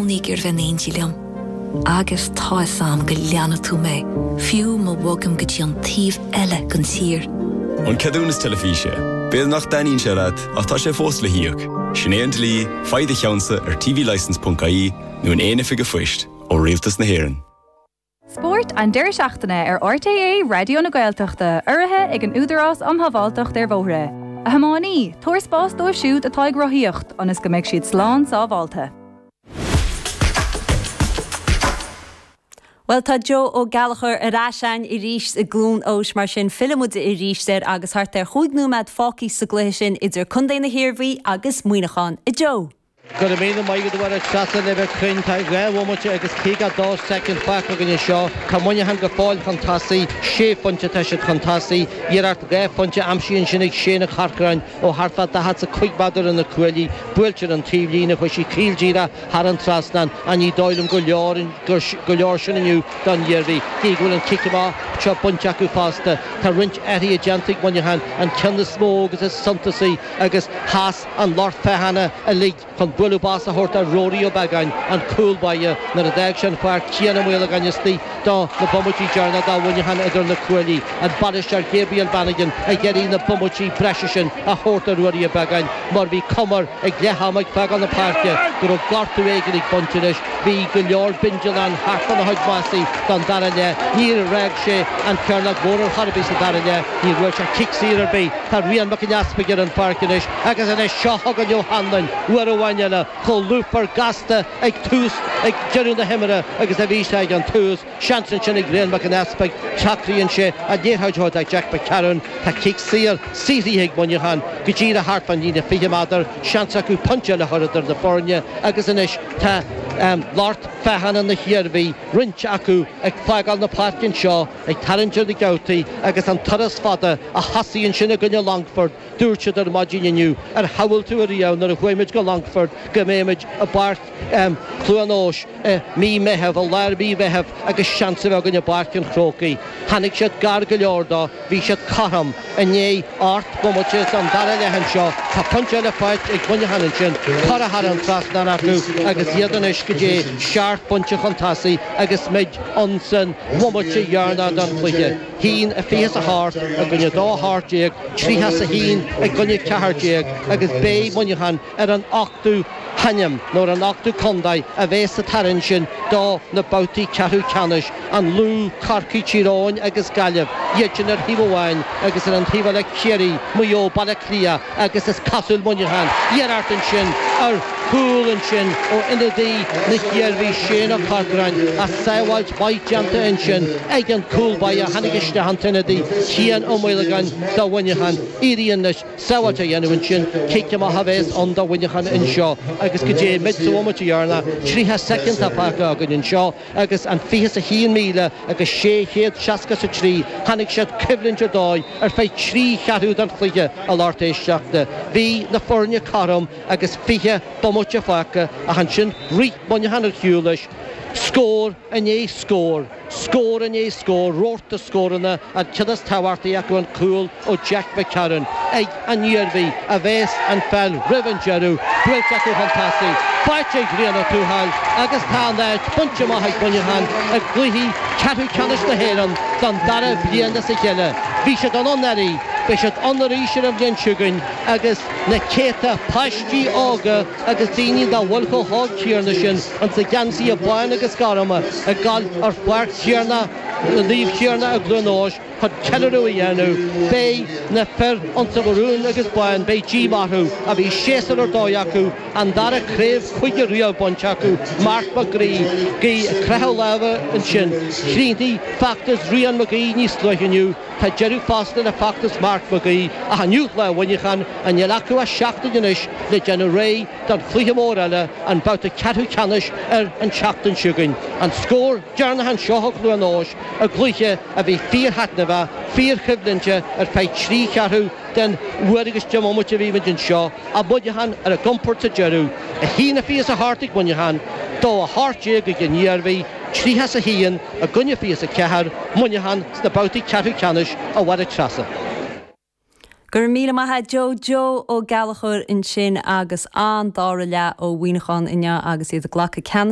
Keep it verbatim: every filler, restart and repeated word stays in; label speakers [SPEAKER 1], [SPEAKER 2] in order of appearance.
[SPEAKER 1] cónaí ag iarraidh bheith in éindí liom. Agus tá a fhios agam go leanfaidh tú mé, fiú má bhogaim go dtí an taobh eile den tír.
[SPEAKER 2] An ceadúnas teilifíse, B'fhéidir nach dtaitníonn sé leat ach tá sé fós le híoc. Sin é an dlí, faigh do cheannsa ar tvlicence.ie nó in aon oifig phoist ó Rialtas na hÉireann.
[SPEAKER 3] Spórt an deireadh seachtaine ar RTÉ Raidió na Gaeltachta urraithe ag an Údarás um Shábháilteacht ar Bhóithre. A thiománaí, tabhair spás dóibh siúd atá ag rothaíocht ionas go mbeidh siad slán sábháilte.
[SPEAKER 4] Bhuel tá Joe Ó Gallchóir ar ais againn arís i gCluain Eois mar sin fillfidh muid arís air agus thart ar chúig nóiméad fágtha sa gcluiche sin idir Contae na hIarmhí agus Muineachán. A Joe!
[SPEAKER 5] Go raibh míle maith agat a Mháire Treasa le bheith cruinn. Tá dhá bhomaite agus caoga dó soicind fágtha againn anseo. Tá Muineachán go fóill chun tosaigh. Sé phointe atá siad chun tosaigh. Iarracht dhá phointe aimsithe ansin ag Shane Ó Corcoráin ó thart fá daichead is a cúig méadar ar na cuaillí. Buailte ar an taobhlíne, chuaigh sí caol díreach thar an trasnán ach ní dóigh liom gur leor gur leor sin inniu don Iarmhí. Cé go bhfuil an cic amach seo bainte acu fosta, tá roinnt athruithe déanta ag Muineachán, an ceann is mó agus is suntasaí agus sheas an lucht féachana uilig chun bualadh bos a thabhairt do Ruairí Ó Beagáin, an cúl báire, nuair a d'fhág sé an pháirc Cian Ó Maolagáin istigh do na bomaití deireanacha do Mhuineachán idir na cuaillí. An bainisteoir Gabriel Bannigan ag iarraidh na bomaití breise sin a thabhairt do Ruairí Ó Beagáin mar bhí cuma air ag leath ama ag fágáil na páirce go raibh gortú éigin ag baint leis. Bhí go leor bindealán thart fána chuid masaí don dara leath. Níor fhág sé an chearnóg mhór ar chor ar bith sa dara leath. Níor bhuail sé cic saor ar bith. Tá Rian Mac an Easpaig ar an pháirc anois agus anois seo chugainn Ó hAnluain uair amháin eile chomh lúfar gasta ag tús ag deireadh na himeartha agus a bhí sé ag an tús. Seans ansin ag Rian Mac an Easpaig, socraíonn sé an liathróid a thabhairt do Jack McCarron. Tá cic saor saothraithe ag Muineachán go díreach thart fán líne fiche méadar. Seans acu pointe eile a chur idir na foirne agus anois tá lucht féachana na hIarmhí, roinnt acu ag fágáil na páirce anseo, ag tarraingt ar na geaftaí agus an turas fada a thosaigh ansin i gcoinne Longfort. Dúirt siad ar maidin inniu, ar shamhail tú ariamh nuair a chuaigh muid go Longfort go mbeidh muid i bPáirc Chluain Eois i mí Meitheamh, i lár mhí Mheithimh agus seans a bheith againn i bPáirc an Chrócaigh. Tháinig siad gar go leor dó, bhí siad cothrom i ndiaidh ocht mbomaite den dara leath anseo. Tá pointe eile faighte ag Muineachán ansin, curtha thar an trasnán acu agus iad anois go dtí seacht bpointe chun tosaigh agus muid ins an bhomaite dheireanach den chluiche. haon a fiche is a hocht i gcoinne dó a hocht déag, tríocha is a haon i gcoinne ceathair déag agus beidh Muineachán ar an ochtú hainm nó ar an ochtú contae a bheas sa tarraingt sin do na babhtaí ceathrú ceannais, an Lú, Corcaigh, Tír Eoghain agus Gaillimh, iad sin ar thaobh amháin agus ar an taobh eile Ciarraí, Maigh Eo, Baile Átha Cliath agus is cosúil Muineachán. Iarracht ansin ar chúl ansin ó ionadaí na hIarmhí, Shane Ó Corcoráin, ach sábháilt mhaith déanta ansin ag an cúl báire a tháinig isteach an t-ionadaí Cian Ó Maolagáin do Mhuineachán. Éiríonn leis sábháilt a dhéanamh ansin, cic amach a bheas ann do Mhuineachán anseo agus go dté muid sa bhomaite dheireanach, tríocha soicind atá fágtha againn anseo agus an fiche is a haon míle agus sé chéad seasca is a trí, tháinig siad coimhlint ar dóigh ar feadh trí cheathrú den chluiche a lucht éisteachta. Bhí na foirne cothrom agus fiche bomaite fágtha ach ansin rith Muineachán ar shiúl leis, scór i ndiaidh scóir. Scór i ndiaidh scóir, rabharta scóranna, an ceann is tábhachtaí acu an cúl ó Jack McCarron ag an Iarmhí a bheas an pheil roimh an deireadh, buailte acu chun tosaigh, faighte ag Rian Ó Tuathail agus tá an áit bainte amach ag Muineachán i gcluichí ceathrú ceannais na hÉireann don dara bliain as a chéile. Bhí siad ann anuraidh, beidh siad ann arís ar an bhliain seo chugainn agus na céadta páistí óga agus daoine nach bhfuil chomh hóg céanna sin ins na geansaithe bán agus gorma ag dul ar Pháirc Tiarnach, Naomh Tiarnach i gCluain Eois chun ceiliúradh a dhéanamh. Beidh na fir ins an mharún agus bán, beidh díomá orthu, ach bhí séasúr ar dóigh acu, an dara craobh chúige riamh bainte acu, Mark Mac Gnaoi ag croitheadh lámha ansin. Chríochnaigh feachtas Rian Mag Aoidh níos luaithe inniu. Tá deireadh fosta le feachtas Mark Mag Aoidh ach inniu lá Mhuineacháin, níl acu ach seachtain anois le déanamh réidh don chluiche mór eile, an babhta ceathrú ceannais ar an tseachtain seo chugainn. An scór deireanach anseo i gCluain Eois i gcluiche a bhí fíorthaitneamhach, fíorchoimhlinte ar feadh trí cheathrú den uair agus deich mbomaite a bhí muid anseo, ach Muineachán ar a gcompord sa deireadh. A haon a fiche is a hocht ag Muineachán, dó a hocht déag ag an Iarmhí. tríocha is a haon i gcoinne fiche is a ceathair, Muineachán sna babhtaí ceathrú ceannais a Mháire Treasa.
[SPEAKER 4] Go raibh míle maith a't Joe. Joe Ó Gallchóir ansin agus an dara leath ó Mhuineachán inniu agus iad ag glacadh ceannas